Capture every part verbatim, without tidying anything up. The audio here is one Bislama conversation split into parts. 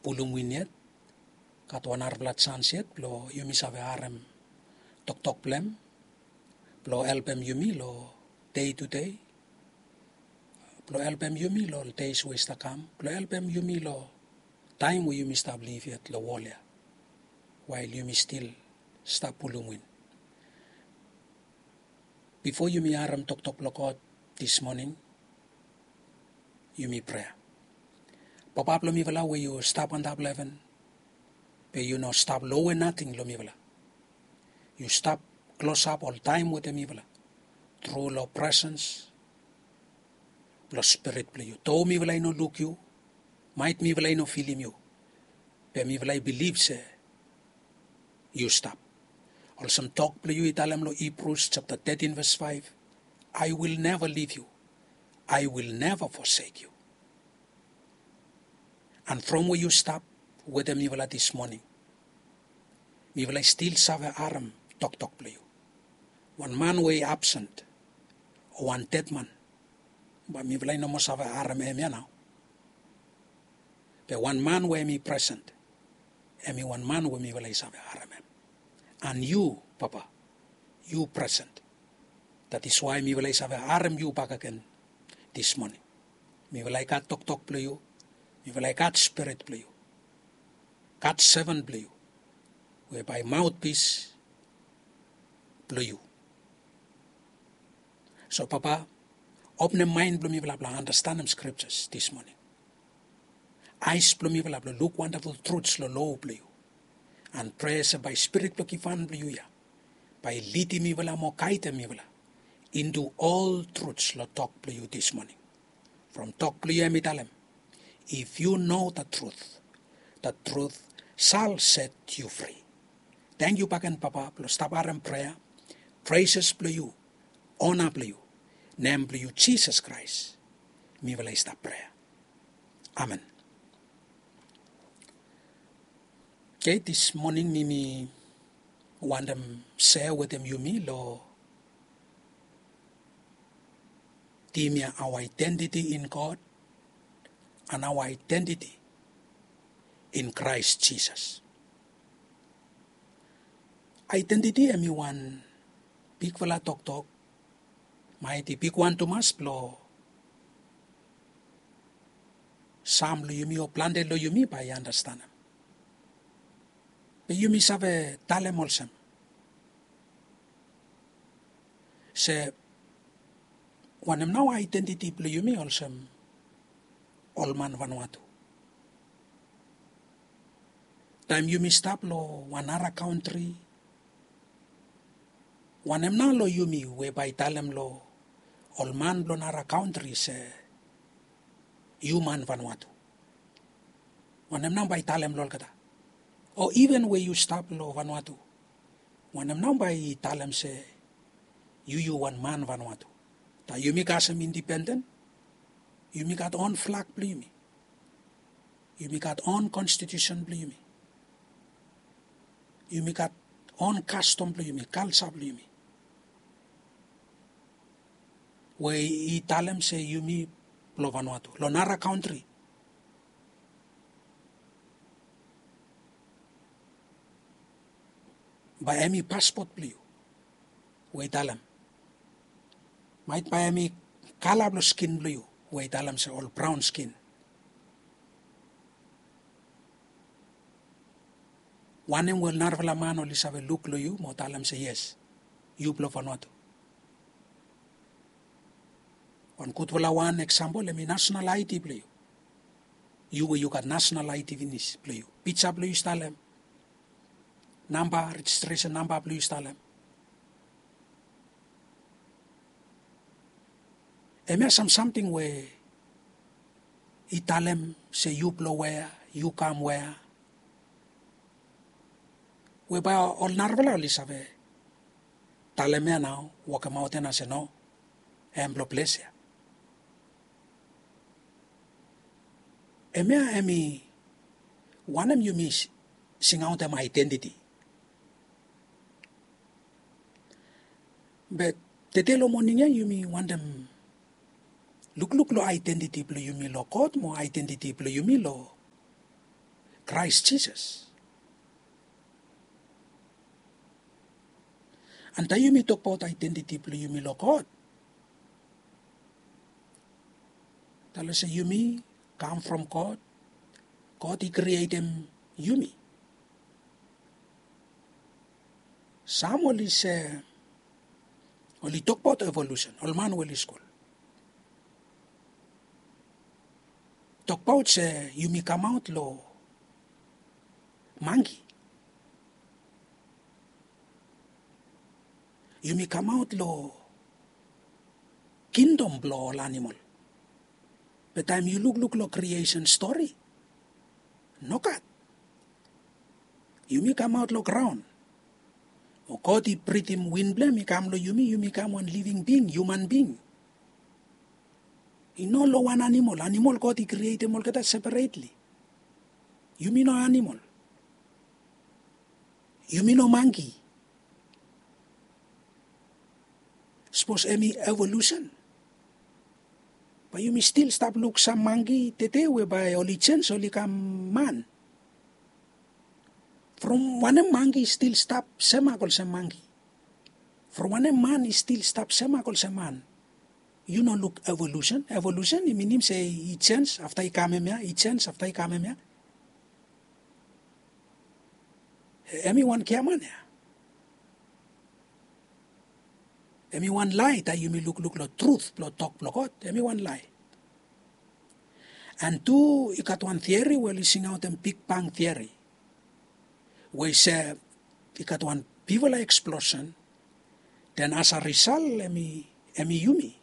pulum win yet, gat wan narafala jans yet blong yumi save harem toktok blong hem, blong helpem yumi long dei tu dei, blong helpem yumi long deis we i stap kam, blong helpem yumi long taem we yumi stap liv yet long wol ya, wael yumi stil stap pulum win. Bifo yumi harem toktok blong God dis moning, yumi prea. Papa blong mifala we yu stap antap long heven, be yu no stap lowe nating long mifala. Yu stap klosap oltaem wetem mifala tru long presens blong Spirit blong yu. Do mifala i no luk yu, maet mifala i no filim yu, be mifala i bilif se yu stap. Olsem tok blong yu i talem long Hibrus japta tetin ves faef, "I will never leave you, I will never forsake you." And from we yu stap wetem mifala dis moning, mifala i stil save harem toktok blong yu. Wan man we i absent, o wan dedman, bae mifala i no moa save harem hem ya nao. Be wan man we hem i present, hem i wan man we mifala i save harem hem. And yu, Papa, yu present. That is why mifala i save harem yu bakegen dis moning. Mifala i gat toktok blong yu, mifala i gat Spirit blong yu, gat seven blong yu, we bae maotpis blong yu. So Papa, openem maen blong mifala blong andastanem Scriptures dis moning. Aes blong mifala blong luk wandaful truths long lo blong yu. And prea se bae Spirit blong givhan blong yu ya bae i lidim mifala mo gaedem mifala into all truths long tok blong yu dis moning. From tok blong yu hem i talem, "If you know the truth, the truth shall set you free." Tangkiu bakegen Papa blong stap harem prea, praises blong yu, ona blong yu, nem blong yu Jisas Kraes, mifala i stap prea. Amen. Oke, dis moning mi mi wantem sea wetem yumi long tim ya, our identity in God and our identity in Christ Jesus. Identity hem i wan bigfala toktok, maet i bigwan tumas blong sam long yumi o plante long yumi bae i andastanem. Be yumi save talem olsem se wanem nao identity blong yumi olsem ol man Vanuatu? Taem yumi stap long wan nara kantri, wanem nao long yumi we bae i talem long ol man blong nara kantri se yu man Vanuatu? Wanem nao bae i talem long olgeta? O iven we yu stap long Vanuatu, wanem nao bae i talem se yu yu wan man Vanuatu? Taem yumi kasem indipenden, yumi gat on flag blong yumi. Yumi gat on konstitusen blong yumi. Yumi gat on kastom blong yumi, kalja blong yumi, we i talem se yumi blong Vanuatu. Long nara kantri, bae hem i paspot blong yu we i talem. Maet bae hem i kala blong skin blong yu we i talem se ol braon skin. Wanem we ol narafala man oli save luk long yu mo talem se yes, yu blong Vanuatu? Wan gudfala wan eksampol hem i nasenal ID blong yu. Yu we yu gat nasenal ID finis blong yu, pija blong yu i stap long hem, namba, rejistresen namba blong yu i stap long hem. Hemia sam samting we i talem se yu blong wea, yu kam wea, we bae ol narafala oli save talem ya nao, wokemaot ya nao se no, hem blong ples ya. Hemia hem i wanem yumi singaotem aedentiti. Be tede long moning ya yumi wantem lukluk long aedentiti blong yumi long God mo aedentiti blong yumi long Kraes Jisas. An taem yumi tokbaot aedentiti blong yumi long God, talem se yumi kam from God. God i krietem yumi. Sam oli se, oli tokbaot evolusen, ol man we oli skul, tokbaot se yumi kamaot long mangki. Yumi kamaot long kingdom blong ol anamol. Be taem yu lukluk long kriesen stori, nogat. Yumi kamaot long graon. O God i britim win blong hem i kam long yumi, yumi kam wan living being, human being. I no long wan anamol. Anamol God i krietem olgeta separetli. Yumi no anamol. Yumi no mangki. Sapos hemi evolusen, bae yumi stil stap luk sam mangki tede we bae oli jens, oli kam man. From wanem mangki i stil stap semak olsem mangki? From wanem man i stil stap semak olsem man? Yu no luk evolusen. Evolusen i minim se i jens afta i kam hemia, i jens afta i kam hemia. Hemi wan giaman ya. Hemi wan lae taem yumi lukluk long trut blong tok blong God. Hemi wan lae. An tu i gat wan tiori we oli singaotem Big Bang tiori, we i se i gat wan bigfala eksplosen, den as a risal hemi, hemi yumi.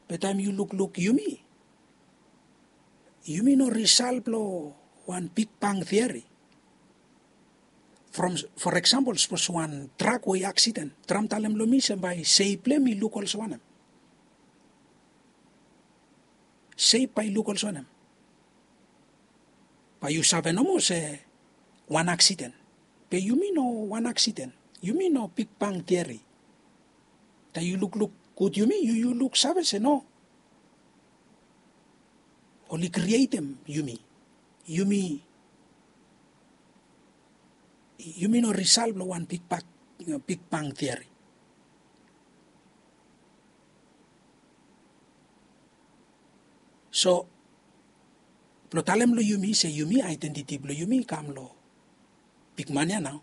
Be taem yu lukluk yumi, yumi no risal blong wan Big Bang tiori. From, for example, sapos wan trak we i aksiden, traem talem long mi se bae sep blong hem i luk olsem wanem? Sep bae i luk olsem wanem? Bae yu save nomo se wan aksiden. Be yumi no wan aksiden. Yumi no Big Bang tiori. Taem yu lukluk gud yumi, yu, yu luksave se no. Oli krietem yumi. Yumi, yumi no risal blong wan Big Bang, Big Bang tiori. So, blong talem long yumi se yumi, aedentiti blong yumi i kam long bigman ya nao.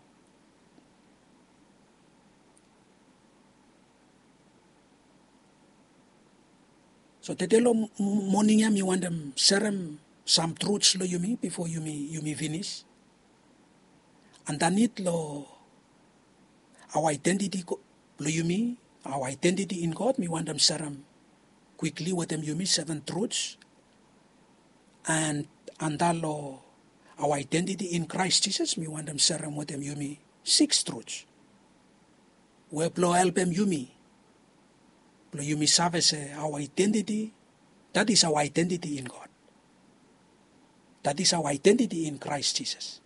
So tede long m-, moning ya mi wantem serem sam truths long yumi bifo yumi, yumi finis. Andanit long our identity blong yumi, our identity in God, mi wantem serem kwikli wetem yumi seven truths. An anda long our identity in Christ Jesus, mi wantem serem wetem yumi six truths we blong helpem yumi blong yumi save se our identity, that is our identity in God. That is our identity in Christ Jesus.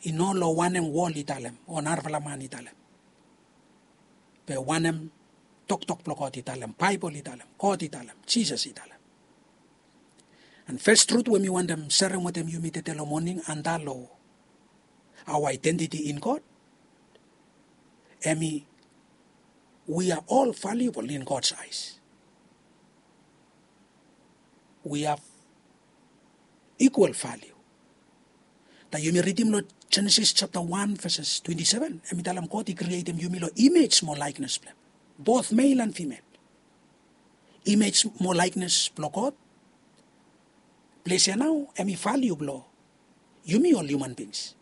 I no long wanem wol i talem o narafala man i talem. Be wanem toktok blong God i talem, Baebol i talem, God i talem, Jisas i talem. An fes trut we mi wantem serem wetem yumi tede long moning anda long our identity in God, hemi, we are all valuable in God's eyes. We have equal value. Taem yumi ridim long Jenesis japta wan veses twenti seven, hemi talem God i krietem yumi long image mo laeknes blong hem. Both male and female. Image mo laeknes blong God. Ples ya nao hemi valiu blong yumi ol human beings.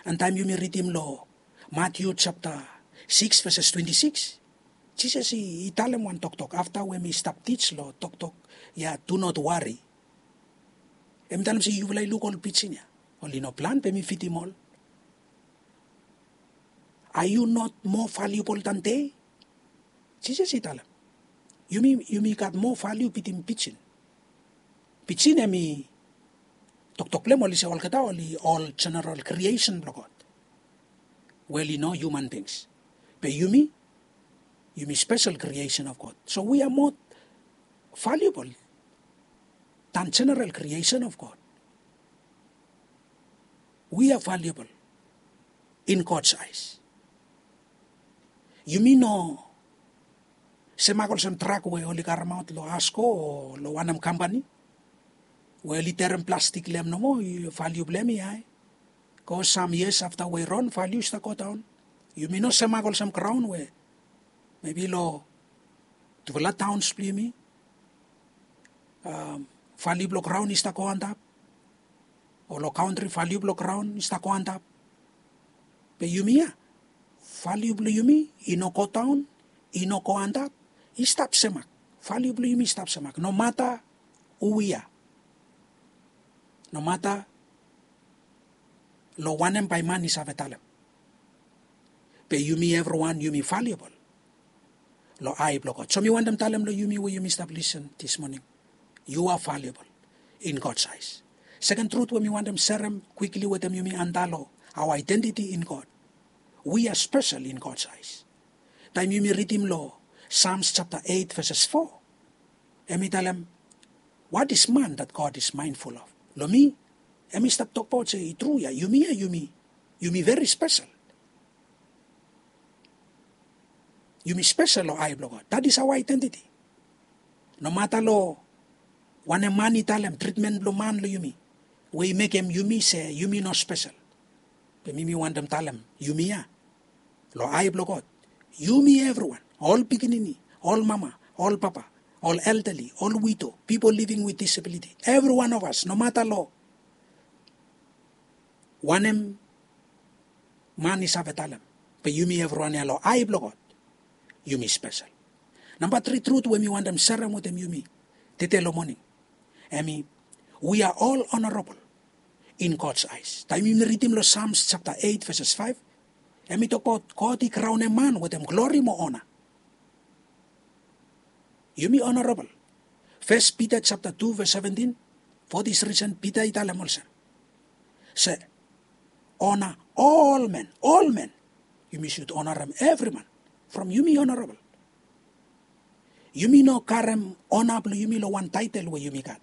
An taem yumi ridim long Matiu japta sikis veses twenti sikis, Jisas i, i talem wan toktok afta we hemi stap tij long toktok ya, do not worry. Hemi talem se yufala i luk ol pijin ya. Oli no plan be mi fidim ol. Are you not more valuable than they? Jisas i talem. Yumi, yumi gat moa valiu bitim pijin. Pijin hemi toktok blong hem oli se olgeta oli ol general creation blong God. Wel, i no human beings. Be yumi, yumi special creation of God. So we are more valuable than general creation of God. We are valuable in God's eyes. Yumi no semak olsem trak we oli karemaot long ASKO o long wanem kampani we oli terem plastik long hem nomo, valiu blong hem i hae. Go sam yias afta we i ron, valiu i stap godaon. Yumi no semak olsem graon we mebi long tufala taons blong yumi, valiu blong graon i stap go antap. O long kantri valiu blong graon i stap go antap. Be yumi ya, valiu blong yumi i no godaon, i no go antap, i stap semak. Valiu blong yumi i stap semak nomata hu wi ya, nomata long wanem bae man i save talem. Be yumi evriwan yumi valiabol long ae blong God. So mi wantem talem long yumi we yumi stap lisen dis moning, yu a valiabol in God's eyes. Seken trut we mi wantem serem kwikli wetem yumi antap long aoa aedentiti in God. Wi a spesel in God's eyes. Taem yumi ridim long Sams japta eit veses fo, hem i talem, what is man that God is mindful of? Long mi, hem i stap tokbaot se i tru ya, yumi ya yumi, yumi veri spesel. Yumi spesel long ae blong God. That is aoa aedentiti. Nomata long wanem man i talem, tritmen blong man long yumi we i mekem yumi se yumi no spesel. Be mi mi wantem talem yumi ya, long ae blong God, yumi evriwan, ol pikinini, ol mama, ol papa, ol elderly, ol wido, pipol living with disability, evriwan of as, nomata long wanem man i save talem, be yumi evriwan ya long ae blong God yumi spesel. Namba tri trut we mi wantem serem wetem yumi tede long moning, hem i, we are all honorable in God's eyes. Taem yumi ridim long Sams japta eit veses faef, hem i tokbaot God i graonem man wetem glori mo ona. Yumi honorable. Fes Pita japta tu ves seventin, for this reason Pita i talem olsem se, ona ol men, ol men. Yumi sud onarem evri man from yumi honorable. Yumi no karem ona blong yumi long wan taetel we yumi gat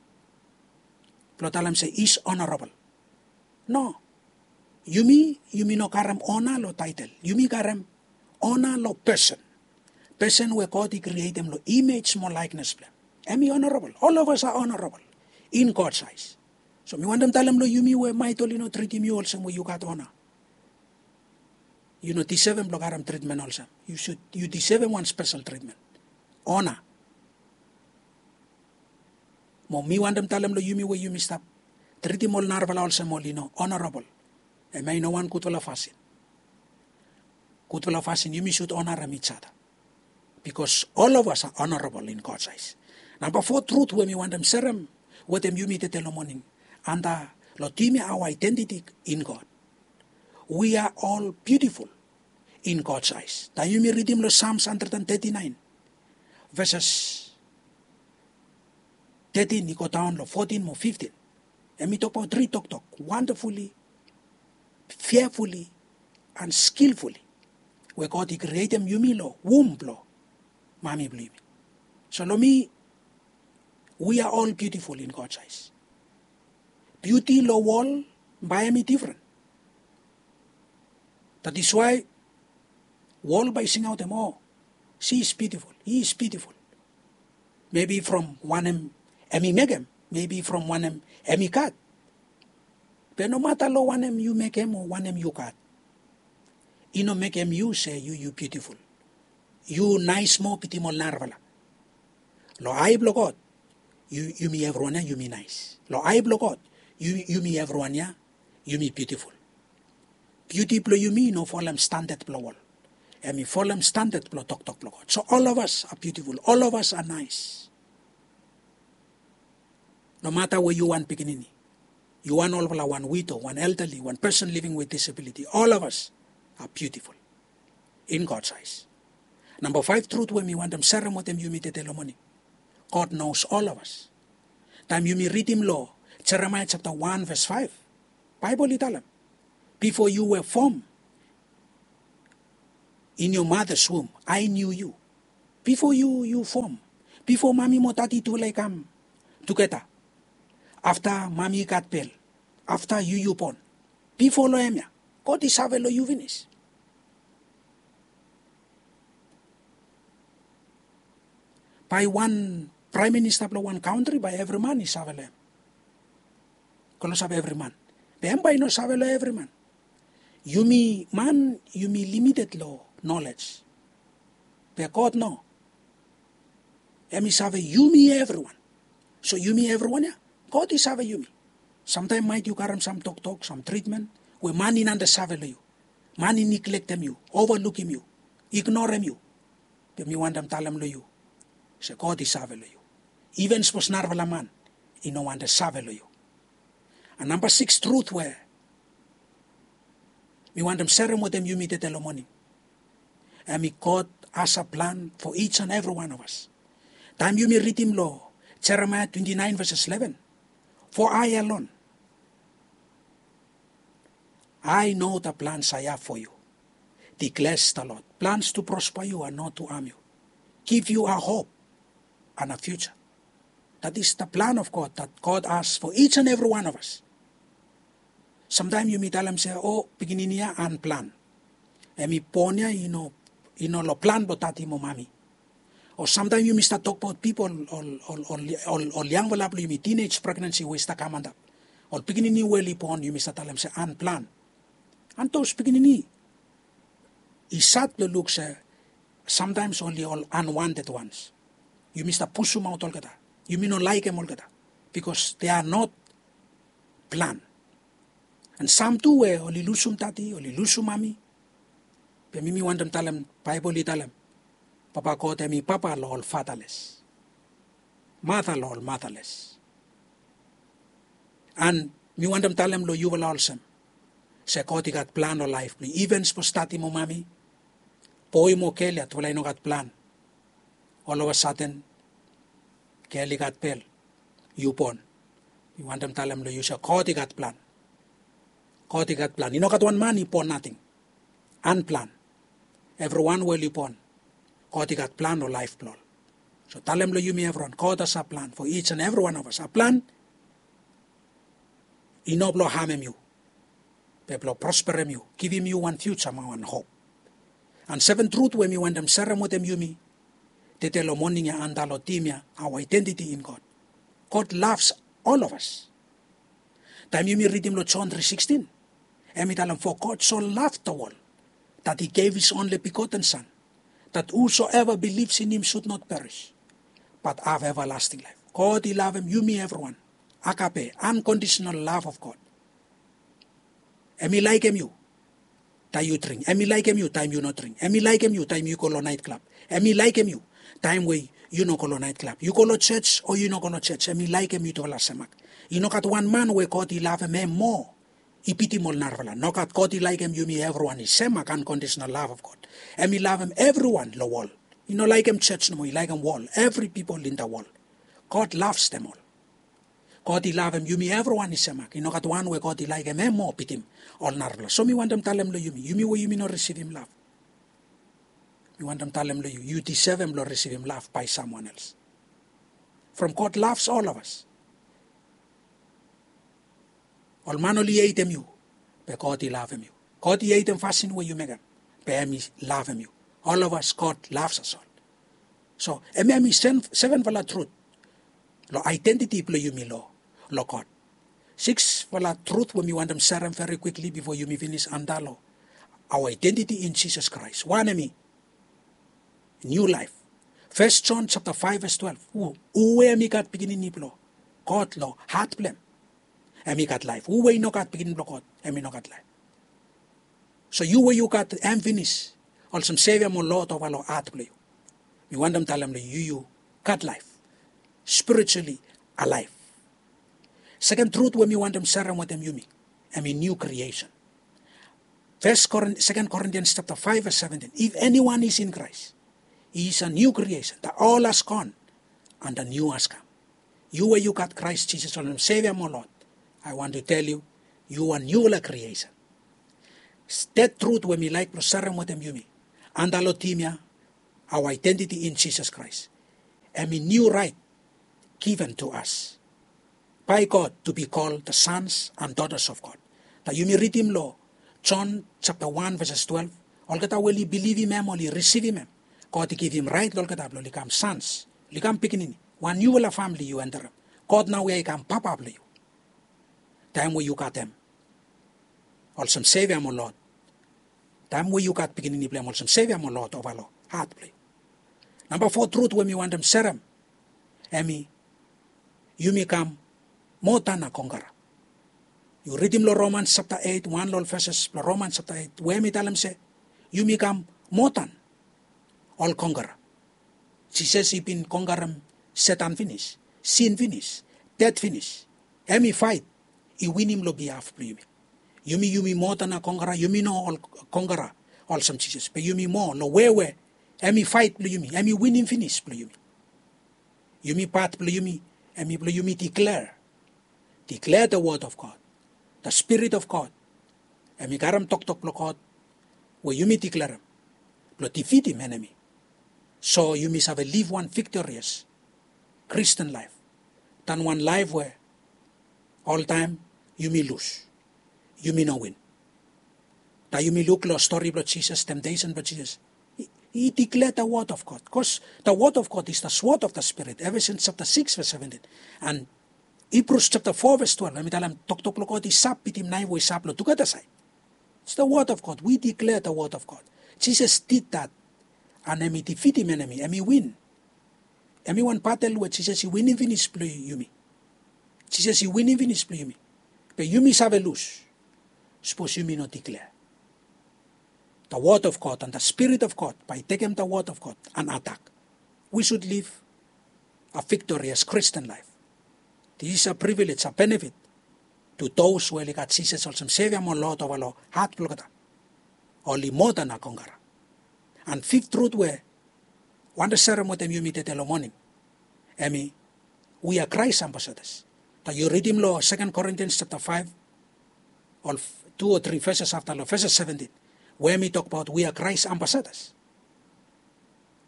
blong talem se is honorable. No. Yumi, yumi no karem ona long taetel. Yumi karem ona long pesen. Pesen we God i krietem long imej mo laeknes blong hem. Hem i honorable. Ol of as a honorable in God's eyes. So mi wantem talem long yumi we maet oli no tritim yu olsem we yu gat ona. Yu no disevem blong karem tritmen olsem. Yu sud, yu disevem wan spesel tritmen. Ona. Mo mi wantem talem long yumi we yumi stap tritim ol narafala olsem oli no honorable, hemia i no wan gudfala fasin. Gudfala fasin yumi sud onarem each other. Bikos ol of as a honorable in God's eyes. Namba fo trut we mi wantem serem wetem yumi tede long moning, antap long tim ya aoa aedentiti in God. We are all beautiful in God's eyes. Taem yumi ridim long Sams handred and teti naen, veses tetin i godaon long fotin mo fiftin, hem i tokbaot tri toktok, wonderfully, fearfully and skillfully, we God i krietem yumi long wum blong mami blong yumi. So long mi, we are all beautiful in God's eyes. Biuti long wol bae hem i difren. That is why wol bae i singaotem, oh, she is beautiful, he is beautiful. Mebi from wanem hem i mekem, mebi from wanem hem i gat. Be nomata long wanem yu mekem o wanem yu gat, i no mekem yu se yu, yu biutiful. Yu naes moa bitim ol narafala. Long ae blong God, yu, yumi evriwan ya yumi naes. Long ae blong God, yu, yumi evriwan ya yumi biutiful. Biuti blong yumi i no folem standad blong wol. Hem i folem standad blong toktok blong God. So ol of as a biutiful, ol of as a naes. Nomata we yu wan pikinini, yu wan olfala, wan wido, wan elderly, wan pesen living with disability, ol of as a biutiful in God's eyes. Namba faef trut we mi wantem serem wetem yumi tede long moning, God knows all of us. Taem yumi ridim long Jeremaea japta wan ves faef, Baebol i talem, bifo yu were fom in your mother's womb, I knew you. Bifo yu, yu fom Bifo mami mo dadi tufala i kam tugeta, afta mami i gat bel, afta yu yu bon, bifo long hem ya, God i save long yu finis. Bae wan praem minista blong wan kantri, bae evri man i save long hem. Klosap evri man. Be hem bae i no save long evri man. Yumi man, yumi limited long nolej. Be God no. Hem i save yumi evriwan. So yumi evriwan ya, God i save yumi. Samtaem maet yu karem sam toktok, sam tritmen we man i no save long yu. Man i niglektem yu, ovalukim yu, ignorem yu. Be mi wantem talem long yu se God i save long yu. Iven sapos narafala man i no wantem save long yu. An namba sikis trut we mi wantem serem wetem yumi tede long moning, hem i God has a plan for each and every one of us. Taem yumi ridim long Jeremaia twenti naen veses leven, for I alone, I know the plans I have for you, declares the Lord, plans to prosper you and not to harm you, give you a hope and a future. That is the plan of God that God has for each and every one of us. Samtaem yumi talem se, o, pikinini ya unplan. Hem i bon ya i no, i no long plan blong dadi mo mami. O samtaem yumi stap tokbaot pipol ol, ol, ol, ol, ol yangfala blong yumi, teenage pregnancy we i stap kam antap, ol pikinini we oli bon, yumi stap talem se unplan. An those pikinini i sad blong luk se samtaem oli ol unwanted ones. Yumi stap pusumaot olgeta. Yumi no laekem olgeta, because they are not plan. An sam tu we oli lusum dadi, oli lusum mami. Be mi, mi wantem talem, Baebol i talem, Papa God hem i papa long ol fatherless, mother long ol motherless. An mi wantem talem long yufala olsem se God i gat plan long laef blong yu. Iven sapos dadi mo mami, boe mo gel ya, tufala i no gat plan. Ol of a sudden gel i gat bel, yu bon. Mi wantem talem long yu se God i gat plan. God i gat plan. I no gat wan man i bon nating unplan. Evriwan we oli bon, God i gat plan long laef blong ol. So talem long yumi evriwan, God has a plan for each and every one of us. A plan i no blong hamem yu, be blong prosperem yu, givim yu wan fiuja mo wan hop. An seven trut we mi wantem serem wetem yumi tede long moning ya antap long tim ya, our identity in God. God loves all of us. Taem yumi ridim long John three sixteen, hem i talem, for God so loved the world that he gave his only begotten Son, that whosoever believes in him should not perish but have everlasting life. God i lavem yumi evriwan. Agape, unconditional love of God. Hem i laekem yu taem yu dring. Hem i laekem yu taem yu no dring. Hem i laekem yu taem yu go long naet klab. Hem i laekem yu taem we yu no go long naet klab. Yu go long jos o yu no go long jos, hem i laekem yutufala semak. I no gat wan man we God i lavem hem moa i bitim ol narafala. Nogat, God i laekem yumi evriwan i semak, unconditional love of God. Hem i lavem evriwan long wol. I no laekem jos nomo, i laekem wol, evri pipol in the world. God loves them all. God i lavem yumi evriwan i semak. I nogat wan we God i laekem hem moa bitim ol narafala. So mi wantem talem long yumi, yumi we yumi no risivim lav, mi wantem talem long yu, yu disevem blong risivim lav by someone else. From God loves all of us. Ol man oli hetem yu, be God i lavem yu. God i hetem fasin we yu mekem, be hem i lavem yu. All of us, God loves us all. So hemia hem i sevenfala trut long identity blong yumi long, long God. Siksfala trut we mi wantem serem very quickly bifo yumi finis antap long our identity in Jesus Christ. Wan hem i new life. First John chapter five verse twelve. Hu, hu we hem i gat pikinini blong God long hat blong hem, hem i gat laef. Hu we i no gat pikinini blong God, hem i no gat laef. So yu we yu gat hem finis olsem Sevia mo Lord ova long hat blong yu, mi wantem talem long yu, yu gat laef, spiritually alive. Seken trut we mi wantem serem wetem yumi, hem i new creation. First Corin-, Second Corinthians chapter five verse seventeen. If anyone is in Christ, he is a new creation. The old has gone and the new has come. Yu we yu gat Christ Jesus olsem Sevia mo Lord, I want to tell you, yu a newfala creation. Thed trut we mi laek blong serem wetem yumi antap long tim ya, our identity in Jesus Christ. Em i niu raet given tu as bai God tu bi kol the sons and daughters of God. Na yumi ridim long John japta wan veses twelef, olgeta we oli bilivim em, oli risivim em, God i givim raet long olgeta blong oli kam sons, oli kam pikinini. Wan niufala famili yu enterem. God nao ya i kam papa blong yu. Taem we yu gat em olsem Sevia mo Lord, taem we yu gat pikinini blong em olsem Sevia mo Lord ova long hat blong yu. Namba fo trut we mi wantem serem, em i yumi kam moa dan na kongkara. Yu ridim long Romans japta eit, wan long ol veses blong Romans japta eit, we em i talem se yumi kam moa dan ol kongkara. Jisas i bin kongkarem Setan finis, sin finis, ded finis. Em i faet, i winim long bihaf blong yumi. Yumi, yumi moa dan na kongkara, yumi no ol kongkara olsem Jisas, be yumi moa long we we em i faet blong yumi, em i winim finis blong yumi. Yumi pat blong yumi, em i blong yumi declare, declare the word of God, the Spirit of God. Em i karem toktok blong God we yumi declarem blong defeatim enemi. So yumi save liv wan victorious Christian life dan wan laef we oltaem yumi lus, yumi no win. Na yumi luk long stori blong Jisas, temptation blong Jisas. I, i declare the word of God, cause the word of God is the sword of the Spirit, Ephesians japta sikis ves seventin. And Hebrews japta fo ves twelef, em i talem toktok blong God i sap bitim naef we i sap long tugeta saed. It's the word of God. We declare the word of God. Jesus did that. And em i defeatim enemi, em i win. Em i wan batel we Jisas i winim finis blong yumi. Jisas i winim finis blong yumi. Be yumi save lus sapos yumi no declare. The word of God and the Spirit of God bae i tekem the word of God and atak. We should live a victorious Christian life. This is a privilege, a benefit to those we oli gat Jisas olsem Sevia mo Lord ova long hat blong olgeta. Oli moa dan na kongkara. And fifth truth we wantem serem wetem yumi tede long moning, em i we are Christ ambassadors. Taem yu ridim long Second Corinthians japta faef, ol tu o tri veses afta long veses seventin, we em i tokbaot we are Christ ambassadors.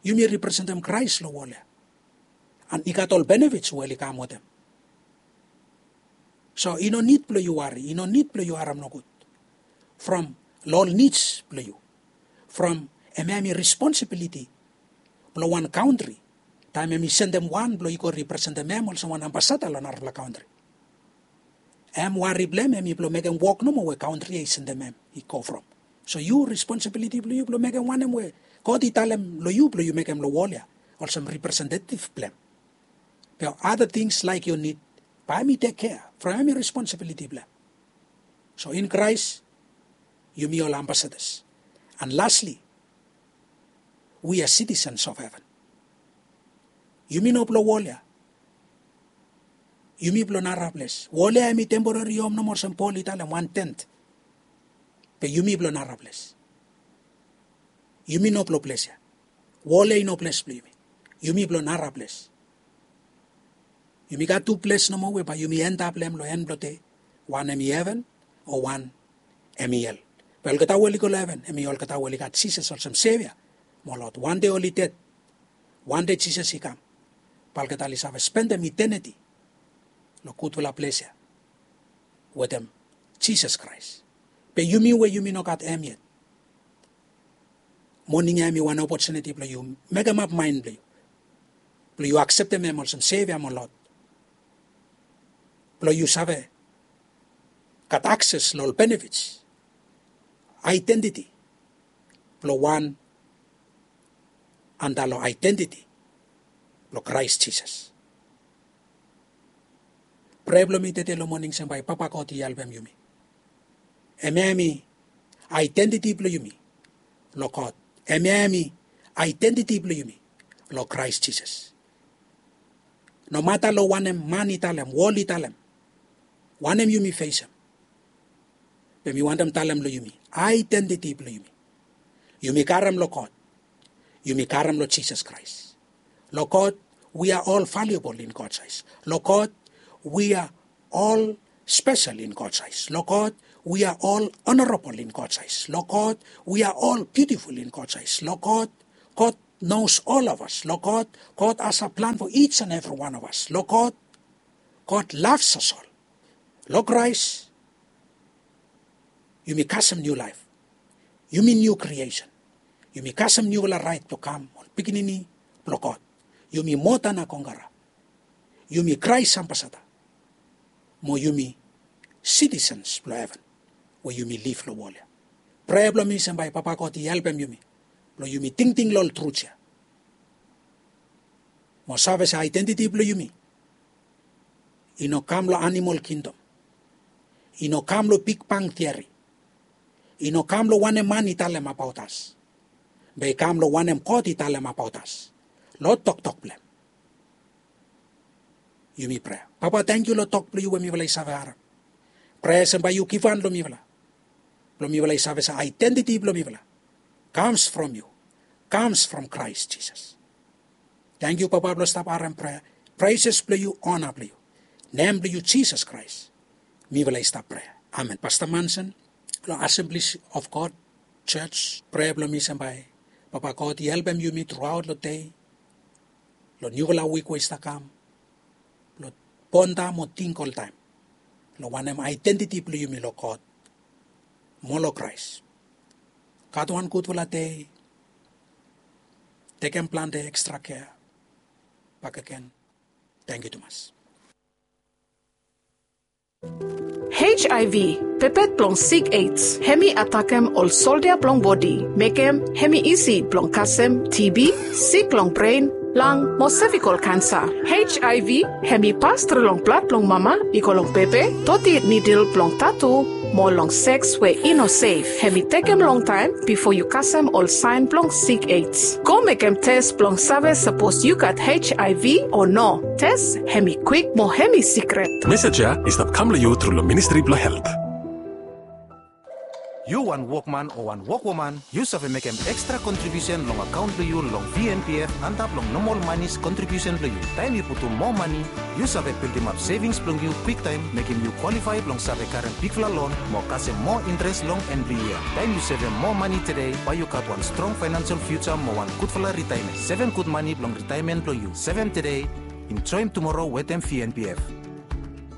Yumi representem Kraes long wol ya. And i gat ol benefits we oli kam wetem. So i no nid blong yu wari, i no nid blong yu harem nogud from long ol nids blong yu. From hemia em i responsibility blong wan kantri taem em i sendem wan blong i go representem em olsem wan ambasada long narafala kantri. Em wari blong em em i blong mekem wok nomo we kantri ya i sendem em i go from. So yu responsibiliti blong yu blong mekem wanem we God i talem long yu blong yu mekem long wol ya olsem representetiv blong em. Be other things like your need, bae em i tek kea from em i responsibiliti blong em. So in Christ yumi ol ambasadas. And lastly, we are citizens of heaven. Yumi no blong wol ya. Yumi blong nara ples. Wol ya em i temporary hom nomo olsem Pol i talem, wan tent. Be yumi blong nara ples. Yumi no blong ples ya. Wol ya i no ples blong yumi. Yumi blong nara ples. Yumi gat tu ples nomo we bae yumi endap long hem long en blong dei. Wan em i heven o wan em i hel. Be olgeta we oli go long heven em i olgeta we oli gat Jisas olsem Sevia mo Lord. Wan dei oli ded, wan dei Jisas i kam, bae olgeta oli save spendem iteniti long gudfala ples ya wetem Jisas Kraes. Be yumi we yumi no gat hem yet, moning ya em i wan opotuniti blong yu mekemap maen blong yu, blong yu akseptem hem olsem Sevia mo Lord, blong yu save gat akses long ol benefits, aedentiti blong wan antap long aedentiti blong Kraes Jisas. Prea blong mi tede long moning se bae Papa God i helpem yumi. Hemia em i aedentiti blong yumi long God. Hemia em i aedentiti blong yumi long Kraes Jisas. Nomata long wanem man i talem, wol i talem, wanem yumi fesem, be mi wantem talem long yumi, aedentiti blong yumi, yumi karem long God. Yumi karem long Jisas Kraes. Long God, we are all valuable in God's eyes. Long God, we are all special in God's eyes. Long God, we are all honorable in God's eyes. Long God, we are all beautiful in God's eyes. Long God, God knows all of us. Long God, God has a plan for each and every one of us. Long God, God loves us all. Long Christ, yumi kasem niu laef. Yumi niu creation. Yumi kasem niufala raet blong kam ol pikinini blong God. Yumi moa dan a kongkara. Yumi Kraes ambasada. Mo yumi sitisens blong heven we yumi liv long wol ya. Prea blong mi se bae Papa God i helpem yumi blong yumi tingting long ol trut ya. Mo save se aedentiti blong yumi i no kam long animol kingdom. I no kam long bigbang tiori. I no kam long wanem man i talem abaot as. Be i kam long wanem God i talem abaot as long toktok blong hem. Yumi prea. Papa, tangkiu long tok blong yu we mifala i save harem. Prea se bae yu givhan long mifala blong mifala i save se aedentiti blong mifala comes from yu, comes from Christ Jesus. Tangkiu Papa blong stap harem prea. Praises blong yu, ona blong yu. Nem blong yu Jisas Kraes mifala i stap prea. Amen. Pasta Manson long Assemblies of God Church, prea blong mi se bae Papa God i helpem yumi truaot long dei, long niufala wik we i stap kam, blong bonda mo ting oltaem long wanem aedentiti blong yumi long God mo long Kraes. Gat wan gudfala dei. Tekem plante ekstra kea bakegen. Tangkiu tumas. H I V, pepet blong sik AIDS, hemi atakem ol soldia blong bodi, mekem hemi isi blong kasem T B, sik long bren, lang, mo sevikol kansa. H I V hemi pas tru long blad blong mama i go long bebe, doti nidil blong tatu, mo long seks we i no sef. Hemi tekem longtaem bifo yu kasem ol saen blong sik AIDS. Go mekem tes blong save sapos yu gat H I V o no. Tes hemi kwik mo hemi sikret. Message ya i stap kam long yu tru long Ministry blong Helt. Yu wan wokman o wan wokwoman, yu save mekem ekstra kontribiusen long akaon blong yu long V N P F antap long nomol manis kontribiusen blong yu. Taem yu putum moa mani, yu save bildimap sevings blong yu kwiktaem, mekem yu kwalifae blong save karem bigfala lon mo kasem moa intres long en blong yia. Taem yu sevem moa mani tede, bae yu gat wan strong faenensel fiuja mo wan gudfala ritaemen. Sevem gud mani blong ritaemen blong yu. Sevem tede, enjoem tumoro wetem V N P F.